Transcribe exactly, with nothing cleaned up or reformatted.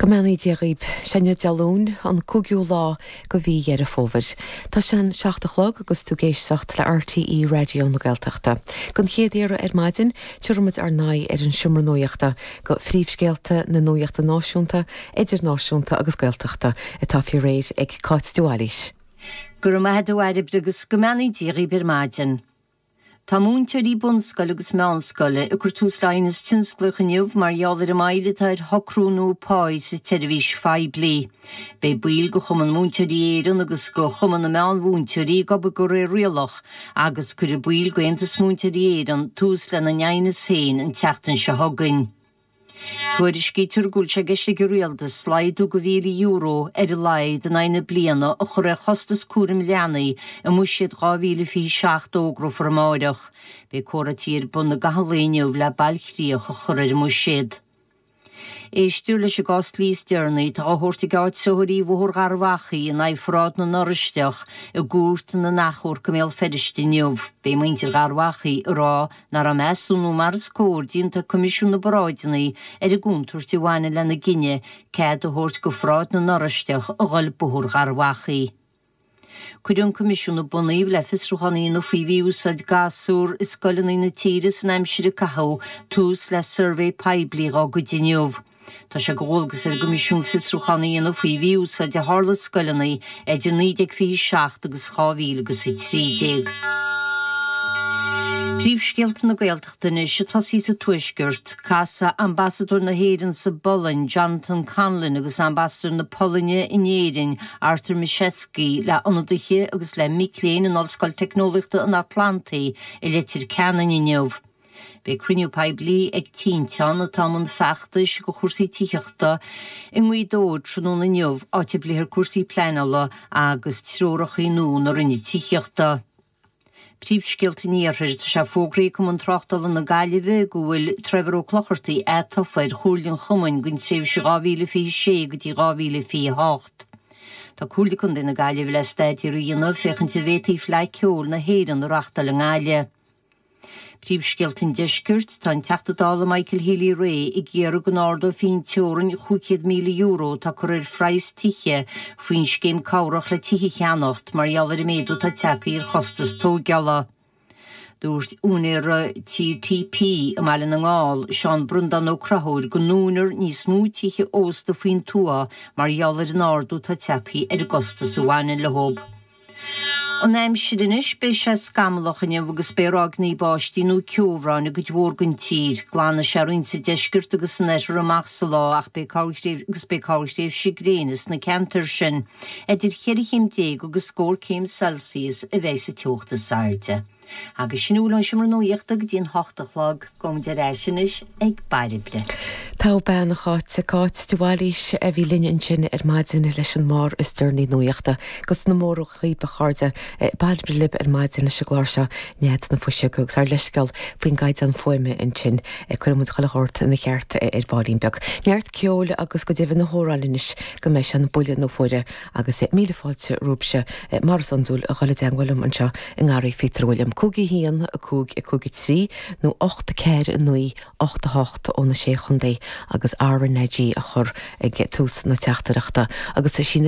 Go mbeannaí Dia dhaoibh sé inniu Dé Luain an cúigiú lá de mhí Dheireadh Fómhair. Tá sé an seacht a chlog agus tú ag éisteacht le RTÉ Raidió na Gaeltachta. Don chéad iarraidh ar maidin tabharfaimid ár n-aghaidh ar an seomra nuachta go phríomhscéalta na nuachta náisiúnta, idirnáisiúnta agus Gaeltachta atá faoi réir ag Cáit de Bhailís. Go raibh maith agat a Bhairbre agus go mbeannaí Dia dhaoibh ar maidin. Tá múinteoirí bunscoile agus meánscoile ag cur tús le aighneas tionsclaíoch inniu mar gheall ar an moill atá ar shocrú nua páí sa tseirbhís phoiblí. Beidh baill de Chumann Múinteoirí Éireann agus de Chumann na Meánmhúinteoirí ag obair de réir rialach agus cuirfidh baill d'Aontas Múinteoirí Éireann tús lena n-aighneas féin an tseachtain seo chugainn. Tuairiscítear go bhfuil sé i gceist ag an rialtas laghdú de mhíle euro ar a laghad in aghaidh na bliana a chur ar chostas cúraim leanaí i mbuiséad dhá mhíle fiche seacht a fhógrófar amárach. Beidh comhráití ar bun i gcaitheamh an lae inniu le bailchríoch a chur ar an mbuiséad. Éistear leis an gcás dlí is deireanaí atá á thabhairt ag áitritheoirí Bhóthar Gharbh Achaidh in aghaidh Pharáid na nOráisteach i gCúirt na nAchomharc i mBéal Feirste inniu. Beidh muintir Gharbh Achaidh ag rá nach raibh measúnú mar is cóir déanta ag Coimisiún na bParáideanna ar an gcontúirt a bhaineann lena gcinneadh cead a thabhairt do Pharáid na nOráisteach a dhul Bóthar Gharbh Achaidh. Cuireadh an Coimisiún a bunaíodh le fiosrúchán a dhéanamh faoi mhí-úsáid gasúr i scoileanna na tíre san aimsir a caitheadh tús le suirbhé poiblí dá gcuid inniu. Tá sé de dhualgas ar an gCoimisiún fiosrúchán a dhéanamh faoi mhí-úsáid a tharla i scoileanna idir naoi déag fiche seacht agus dhá mhíle agus a trí déag. Príomhscéalta na Gaeltachta anois ag tosaí sa Tuaisceart, casfaidh Ambasadóir na hÉireann sa bPolainn, Jonathan Conlon agus Ambasadóir na Polainne in Éirinn, Artur Miszewski, le ionadaithe agus le mic léinn in Ollscoil Teicneolaíochta an Atlantaigh i Leitir Ceanainn inniu. Beidh cruinniú poiblí ag Tinteán atá i mbun feachtais do chúrsaí tithíochta i nGaoth Dobhair tráthnóna inniu, áit a bpléifear cúrsaí pleanála agus treoracha nua na Roinne Tithíochta. Príomhscéalta an Iarthair, tá sé fógraithe ag Cumann Tráchtála na Gaillimhe go bhfuil Trevor Ó Clochartaigh atofa ar Chomhairle an Chumainn don tréimhse dhá mhíle fiche sé go dtí dhá mhíle fiche hocht. Tá Comhairle Contae na Gaillimhe le staidéar a dhéanamh féachaint an bhféadfaí Fleadh Ceoil na hÉireann a reáchtáil i nGaillimh. Príomhscéalta an Deiscirt, tá an Teachta Dála Michael Healy-Rae ag iarraidh go n-ardófaí an teorainn chúig chéad míle euro atá curtha ar phraghas tithe faoin scéim cabhrach le tithe a cheannacht mar gheall ar an méadú atá tagtha ar chostas tógála. Dúirt úinéir TTP i mBaile na nGall, Seán Breandán Ó Conchúir, go ndúnfar níos mó tithe ósta faoin tuath mar gheall ar an ardú atá tagtha ar an gcostas a bhaineann leo. An aimsir anois, beidh sé scamallach inniu agus beidh ráigeanna báistí nó ceobhráin i gcuid mhór den tír. Glanfaidh sé roinnt sa deisceart agus san oirthear amach sa lá ach beidh agus beidh corrthréimhse gréine sna ceantair sin. Idir cheithre chéim déag agus scór céim Celsius a bheidh sa teocht is airde. Agus sin a bhfuil ón seomra nuachta go dtí an hocht a chlog, gabhaimid ar ais anois ag Bairbre. Tá bean a Cháit Cáit de Bhailís a bhí linn ansin ar maidin leis an mbarr is deireanaí nuachta, agus na mórachaí ba chairde Bairbre libh ar maidin leis an gclár seo Nead na Fuiseoige agus ár leithscéal faoin gcaighdeán fuaime ansin cuirfidh muid chuile shórt ina cheart ar baillín beag. Neart ceoil agus go deimhin na hamhráin anois go mbeidh sé an buille na huaire agus míle fáilte romhaibhse mar is iondúil a dhul i dteagmháil liom anseo i nGarraí Phíotair William. Cúig a haon a cúig a cúig a trí nó ocht ceathair naoi ocht a hocht ó na sé chontae agus RnaG a chur ag tús na teachtaireachta agus sí